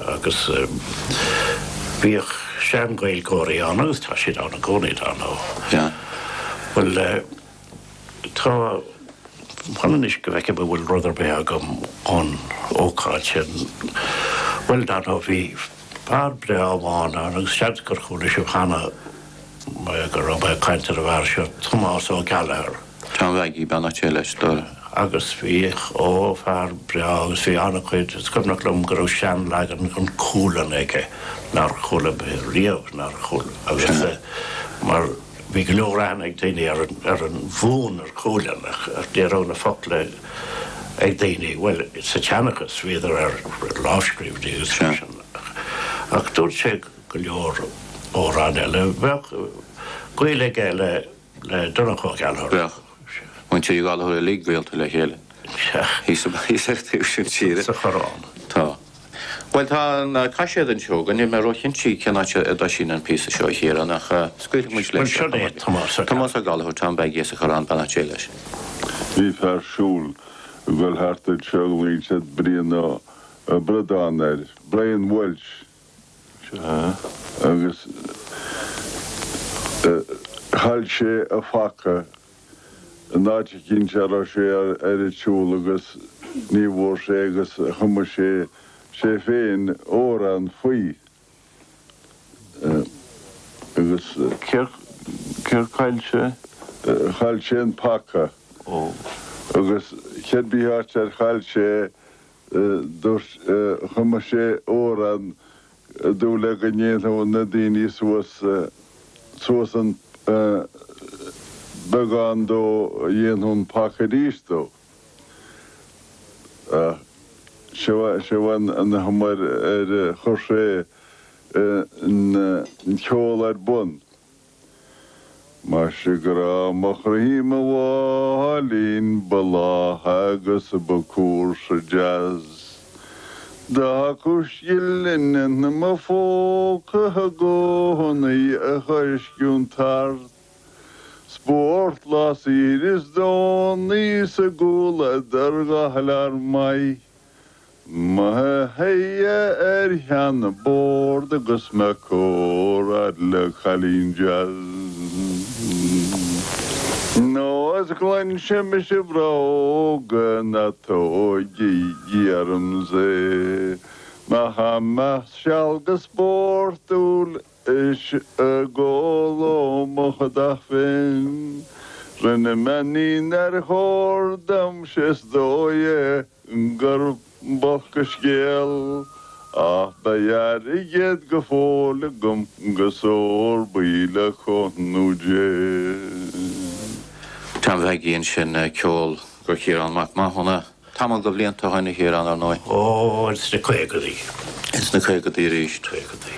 agus bhíodh sean-Ghaeilgeoirí ann agus tá siad ann i gcónaí, dar ndóigh. Sea. Bhuel, tá, fan anois go bhfeicim an bhfuil rud ar bith agam ón ócáid sin. Bhuel, dar ndóigh, bhí fear breá amháin ann agus seans gur chuala sibh cheana go raibh mé ag caint ar an bhfear seo, Tomás Ó Gallchóir. Tom Mhaggie, beannacht Dé leis, do. Agus bhí, ó, fear breá agus bhí an-chuid, is cuimhneach liom go raibh seanleagan den Cualann aige nár chuala mé riamh, nár chuala, agus mar bhí go leor aithne ag daoine ar an, ar an bhfonn ar Chualann ach ní raibh na focla ag daoine, bhuel, sa tseanchas bhíodar ar lámhscríbhinní agus mar sin ach dúirt sé go leor amhrán eile, bheadh gaol aige le. Le Donncha Ó Gallchóir. Bheadh. Muintir Uí Ghallchóir uilig gaolta le chéile. Thíos ar an taobh sin tíre. Sa Choireán. Tá. Bhuel, tá an caiséad anseo againn. Níl mé róchinnte cén áit a dtoisíonn an píosa seo, a Chiaráin, ach scaoilfidh muid leis. Bhuel, seo é Tomás Ó Tomás Ó Gallchóir, Tom Mhaggie as an Choireán, beannacht Dé leis. Bhí fear siúil ag dul thart anseo ghlaoigh siad Brian Ó Bradáin air, Brian Walsh. Agus chaill sé a phaca in áit eicínt a raibh sé ar an tsiúl agus ní bhfuair sé agus chum sé sé féin amhrán faoi agus. Céard chaill sé? Chaill sé an paca agus cibé áit ar chaill sé Dúirt, chum sé amhrán i dtaobh le go ndéanfadh na daoine suas, suas an beagán dó a dhéanfadh an paca arís dó. Ach seo, seo an chuma ar, ar chuir sé an ceol ar bun. Maise grá mo chroí mo mháilín ba lách agus ba cúrsa deas Do thiocfadh scilling i mo phóca i gcónaí a choisciúint tart Spórt lá saoire is Domhnaigh sa gcomhluadar go maith. Mo shuí ar sheanbhord agus mé ag comhrá le cailín deas. Nó is cluinse mise bróga na tóigígí ormsa é. Má tá mé seal go spórtúil is ag ól ó mo chodach féin. Rinne mé ní nár chóir dom 'sé is dóigh é. gur b'olc an scéal ach beidh airgead go fóill agam 'gus ór buí le cúnamh Dé. Tom Mhaggie ansin, ceol do Chiarán Mac Mathúna. Tamall de bhlianta ó shin, a Chiaráin, ar ndóigh. Ó, ins na caogadaí. Ins na caogadaí arís. Caogadaí.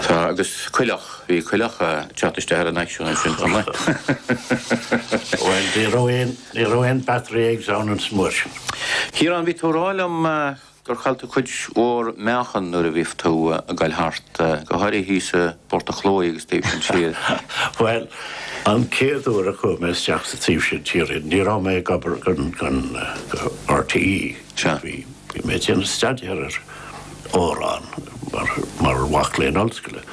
Tá, agus coileach, bhí coileach ag teacht isteach ar an aicsean ansin chomh maith. Bhuel, ní raibh aon. Ní raibh aon battery eggs ann an uair sin. Ciarán, bhí tú ag rá liom gur chaill tú cuid mhór meáchan nuair a bhí tú ag goil thart, go háirithe thíos i bPort a' Chlóidh agus taobh sin tíre. Bhuel, an chéad uair a chuaigh mé isteach sa taobh sin tíre, ní raibh mé ag obair don RTÉ. Sea. Bhí mé ag déanamh staidéar ar amhráin mar mhac léinn ollscoile.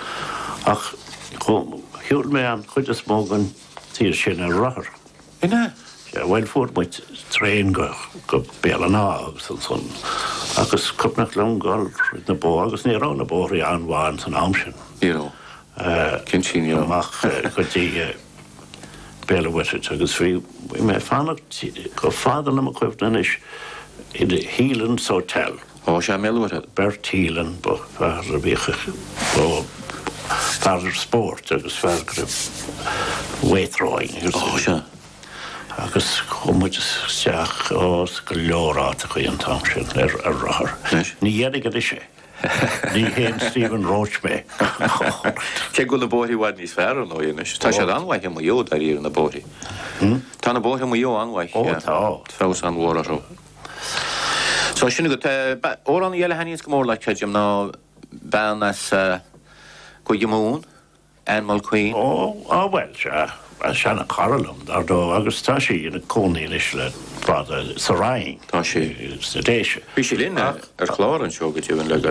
Ach shiúil mé an chuid is mó den tír sin ar rothar. An ea? Sea, bhuel, fuair muid traein go, go Béal an Átha agus ansan, ach is cuimhneach liom dul thríd na bóithre agus ní raibh na bóithrí an-mhaith ins an am sin. Ní raibh. Cinnte ní raibh. Amach go dtí Béal an Mhuirthead agus bhí, bhí mé ag fanacht chomh fada le mo chuimhne anois in Heelan's Hotel. Ó, sea, i mBéal an Mhuirthead. Bert Heelan, ba fear a bhíodh, ó, fear spóirt agus fear go raibh weight throwing agus. Ó, sea. Agus chuaigh muid isteach, ó, go leor áiteachaí an t-am sin ar, ar rothar. Anois. Ní dhéanfainn anois é. Ní haon Stephen Roche mé. Cé go bhfuil na bóithre i bhfad níos fearr, ar ndóigh, anois. Tá siad an-mhaith i Maigh Eo, dáiríre, na bóithre. Tá na bóithre i Maigh Eo an-mhaith. Ó, tá. Feabhas an-mhór orthu. So sin agat. Amhránaí eile a thaitníonns go mór leat, creidim, ná bean as Cúige Mumhan, Ann Mulqueen. Ó, á bhuel, sea, seana-chara liom, dar ndóigh, agus tá sí ina cónaí anois le fada sa Rinn. Tá sí. Sna Déise. Bhí sí linn ar chlár anseo go deimhin le gairid.